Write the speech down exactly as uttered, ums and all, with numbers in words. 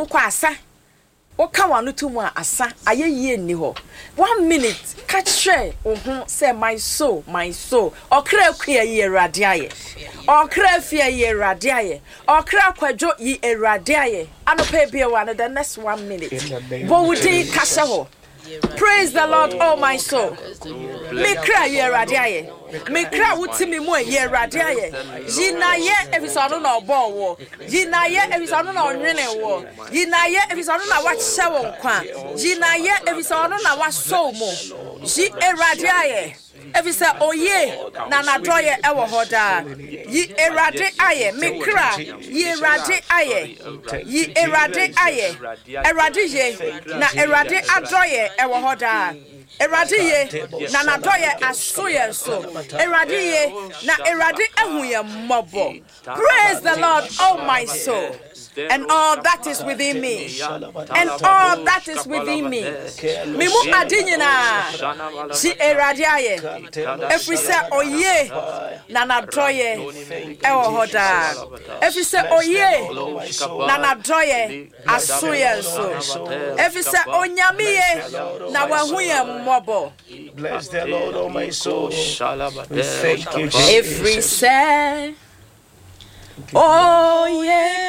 mu kɔ asa. Woka w'ano to mu a asa ayɛ yie nni hɔ. One minute ka kyerɛ wo ho sɛ my soul, my soul. Ɔkra akua yi Awurade ayɛ. Ɔkra afia yi Awurade ayɛ. Ɔkra kwadwo yi Awurade ayɛ. Anɔpa ebie wa no the next one minute. Bɔ wo din ka hyɛ hɔ. Praise the Lord, oh my soul. Me kra yi Awurade ayɛ. Me kra wo ti mi mu yi Awurade ayɛ. Yi na yɛ efisɛ ɔno na ɔbɔɔ wo. Yi na yɛ efisɛ ɔno na ɔnwene wo. Yi na yɛ efisɛ ɔno na wakyɛ wo nkwa. Yi na yɛ efisɛ ɔno na wasɔ wo mu. Yi Awurade ayɛ. Efisɛ oye na n'adɔyɛ ɛwɔ hɔ daa. Yi Awurade ayɛ. Me kra yi Awurade ayɛ. Yi Awurade ayɛ. Awurade ye na Awurade adɔyɛ ɛwɔ hɔ daa. Awurade ye na n'adɔyɛ aso yɛn so. Awurade ye na Awurade ahu yɛn mmɔbɔ. Praise the Lord, oh my soul, and all that is within me, and all that is within me. Me mu ade nyinaa yi Awurade ayɛ, ɛfiri sɛ oye na n'adɔyɛ ɛwɔ hɔ daa. Ɛfiri sɛ oye na n'adɔyɛ aso yɛn so. Ɛfiri sɛ onyame ye na wahu yɛn mmɔbɔ. Bless the Lord, oh my soul. We thank you, Ɛfiri Jesus. sɛ oye.